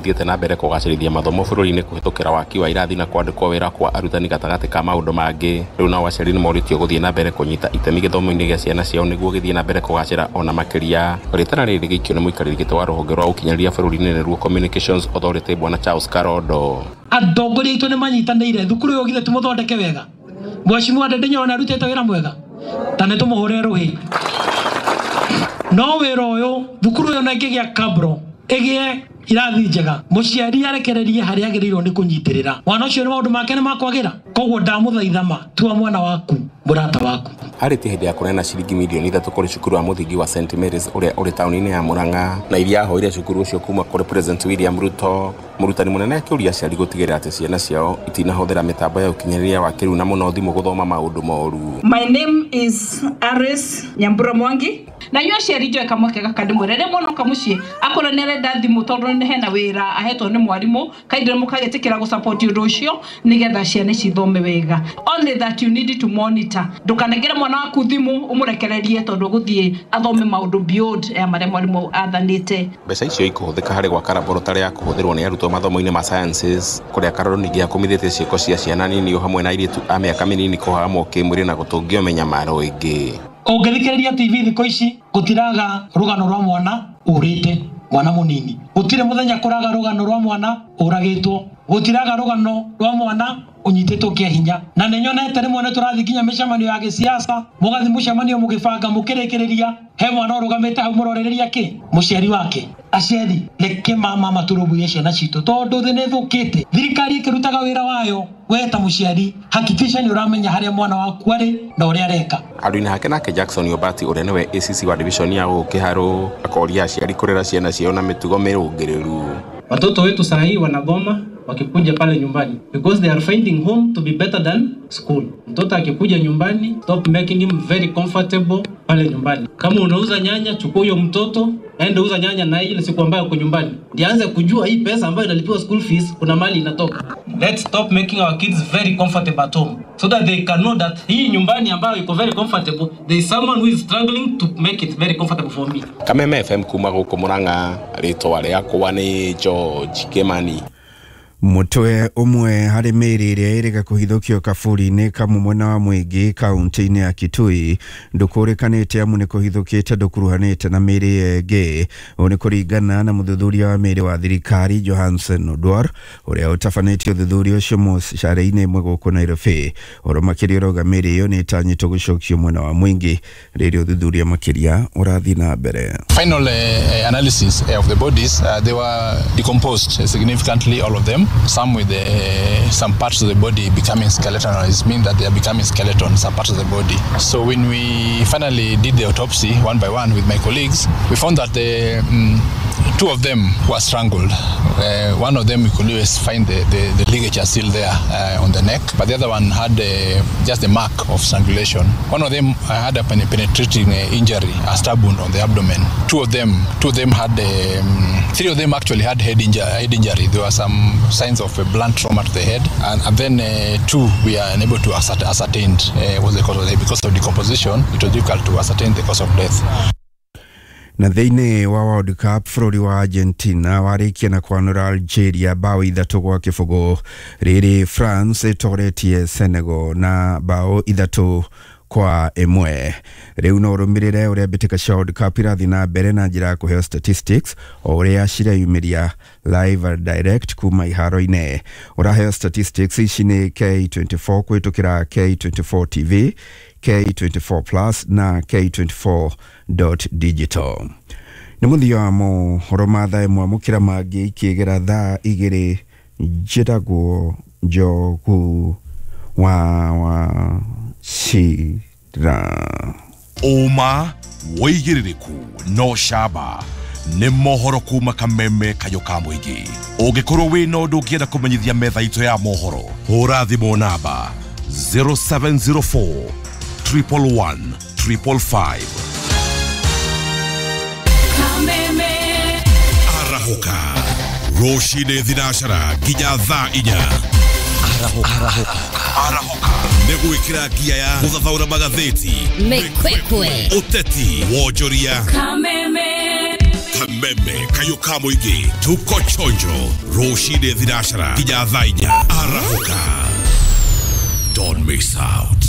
Thiĩte na mbere kũgacĩrithia mathomo bũrũri-inĩ kũhĩtũkĩra waki wa irathi na kwandĩkwo wĩra kwa arutani gatagatĩ ka maũndũ mangĩ. Rĩu nao aciari nĩ morĩtio gũthiĩ na mbere kũnyita itemi gĩthomo-inĩ gĩa ciana ciao nĩguo gĩthiĩ na mbere kũgacĩra ona makĩria. Rĩtana rĩrĩ rĩgĩikio nĩ mũikarĩri gĩtĩ wa rũhonge rwa ũkinyanĩria bũrũri-inĩ nĩruo Communications Authority Bwana Charles Karondo. Atongoria aitũ nĩ manyitanĩire thukuru ũyũ githĩ tũmũthondeke wega. Mheshimiwa Ndindi Nyoro nĩ arutĩte wĩra mwega, ta nĩ tũmũhũre rũhĩ. No wĩra ũyũ thukuru ũyũ na ĩngĩgĩa kabro ĩgĩe irathi njega, mũciari arekererie harĩa agĩrĩirwo nĩ kũnyitĩrĩra mwana ũcio, nĩ maũndũ make nĩ makwagĩra. Koguo ndamũthaitha ma tua mwana waku mũrata waku. Arĩtie hĩndĩ ya kũneana ciringi mirioni 3 kũrĩ cukuru wa mũthingi wa St Mary's ũrĩa ũrĩ taũni-inĩ ya Murang'a na iria ahoire cukuru ũcio kuma kũrĩ President William Ruto. Mũrutani mũnene akĩũria aciari gũtigĩrĩra atĩ ciana ciao itinahũthĩra mĩtambo ya ũkinyanĩria wa kĩrĩu na mũno thimũ gũthoma maũndũ moru. My name is Aris Nyambura Mwangi. Na inyuĩ aciari, njoe kamweke gaka ndĩmwĩre, rĩrĩa mwana oka mũciĩ akorwo nĩ arenda thimũ tondũ nĩ hena wĩra ahetwo nĩ mwarimũ, kaindĩ mũkagĩtĩkĩra gũsupport ũndũ ũcio nĩgetha ciana ici ithome wega. Only that you need to monitor. Ndũkanengere mwana waku thimũ ũmũrekererie tondũ ũgũthiĩ athome maũndũ beyond ya marĩa mwarimũ athanĩte. Mbeca icio ikũhũthĩka harĩ gwaka laboratory ya kũhũthĩrwo nĩ arutwo mathomo-inĩ ma sciences, kũrĩa Karondo ningĩ akũmithĩtie ciĩko cia ciana nini o hamwe na airĩtu a mĩaka mĩnini kũhahamwo kĩmwĩrĩ na gũtũngio mĩnyamaro ĩngĩ. Ũngĩthikĩrĩria TV thikũ ici, gũtiraga rũgano rwa mwana ũrĩte, mwana mũnini. Gũtirĩ mũthenya kũraga rũgano rwa mwana ũragĩtwo. Gũtiraga rũgano rwa mwana ũnyitĩtwo kĩa hinya. Na nĩ nyonete rĩmwe nĩ tũrathiĩ nginya mĩcemanio ya gĩsiasa, mũgathiĩ mũcemanio mũgĩbanga mũkĩrĩkĩrĩria, he mwana ũrũgamĩte hau mũrorereria kĩ mũciari wake. Aciari, reke mama matũrũmbũiye ciana citũ tondũ thĩ nĩ ĩthũkĩte. Thirikari ĩkĩrutaga wĩra wayo, we ta mũciari hakikisha nĩ ũramenya harĩa mwana waku arĩ na ũrĩa areka. Handũ-inĩ hake nake Jackson Obati ũrĩa nĩwe ACC wa division ya gũkũ Kĩharũ akoria aciari kũrera ciana ciao na mĩtugo mĩrũngĩrĩru. Watoto wetu saa hii wanagoma wakikuja pale nyumbani because they are finding home to be better than school. Mtoto akikuja nyumbani, stop making him very comfortable pale nyumbani. Kama unauza nyanya, chukua huyo mtoto aende uza nyanya na ile siku ambayo uko nyumbani, ndiye aanze kujua hii pesa ambayo inalipiwa school fees kuna mali inatoka. Let's stop making our kids very comfortable at home so that they can know that hii nyumbani ambayo iko very comfortable, there is someone who is struggling to make it very comfortable for me. Kameme FM kuma gũkũ Murang'a, rĩtwa rĩakwa nĩ George Kimani. Mũtwe ũmwe harĩ mĩĩrĩ ĩrĩa ĩrĩga kũhithũkio kaburi-inĩ kamwe mwena wa Mwingi kaunti-inĩ ya Kitui ndũkũrĩkanĩte amu nĩ kũhithũkĩte ndũkuruhanĩte na mĩĩrĩ ĩyo ĩngĩ. Ũũ nĩ kũringana na mũthuthuria wa mĩĩrĩ wa thirikari Johansen Odwar ũrĩa ũtabanĩtie ũthuthuria ũcio mũcarĩ-inĩ ĩmwe gũkũ Nairobi. Ũhoro makĩria ũrauga mĩĩrĩ ĩyo nĩ ĩtanyĩtwo gũcokio mwena wa Mwingi rĩrĩa ũthuthuria makĩria ũrathiĩ na mbere. Final analysis of the bodies, they were decomposed significantly, all of them. Some with some parts of the body becoming skeletonized, mean that they are becoming skeletons, some parts of the body. So when we finally did the autopsy one by one with my colleagues, we found that the two of them were strangled. One of them we could always find the ligature still there on the neck, but the other one had just the mark of strangulation. One of them had a penetrating injury, a stab wound on the abdomen. Two of them had, three of them actually had head injury. There were some signs of a blunt trauma to the head, and then two we are unable to ascertain was the cause of death. Because of decomposition, it was difficult to ascertain the cause of death. Na thĩinĩ wa World Cup, bũrũri wa Argentina warĩkia na kwanũra Algeria bao 3-0, rĩrĩ France ĩtoretie Senegal na bao 3-1. Rĩu no ũrũmĩrĩre ũrĩa mbĩtĩka cia World Cup irathiĩ na mbere na njĩra ya kũheo statistics o ũrĩa cireyumĩria live and direct kuma iharo-inĩ. Ũraheo statistics ici nĩ K24 kũhĩtũkĩra K24 TV, K24 Plus na K24 digital. Nĩ mũthia wa mohoro ma thaa 1. Mũkĩra mangĩ ikĩgera thaa 2. Njĩtagwo Njogu wa Wachira. Ũma, wĩigĩrĩrĩku no camba nĩ mohoro kuma Kameme, kayũ ka mũingĩ. Ũngĩkorwo wĩna ũndũ ũngĩenda kũmenyithia metha itũ ya mohoro, hũra thimũ namba 0704 111 555. Arahũka rũcinĩ thinacara nginya thaa 4. Arahũka nĩ gwĩkĩra ngia ya gũthathaũra magathĩti, Mĩkwekwe, ũteti, wonjoria. Kameme. Kameme kayũ ka mũingĩ, tuko chonjo rũcinĩ thinacara nginya thaa 4 arahũka. Don't miss out.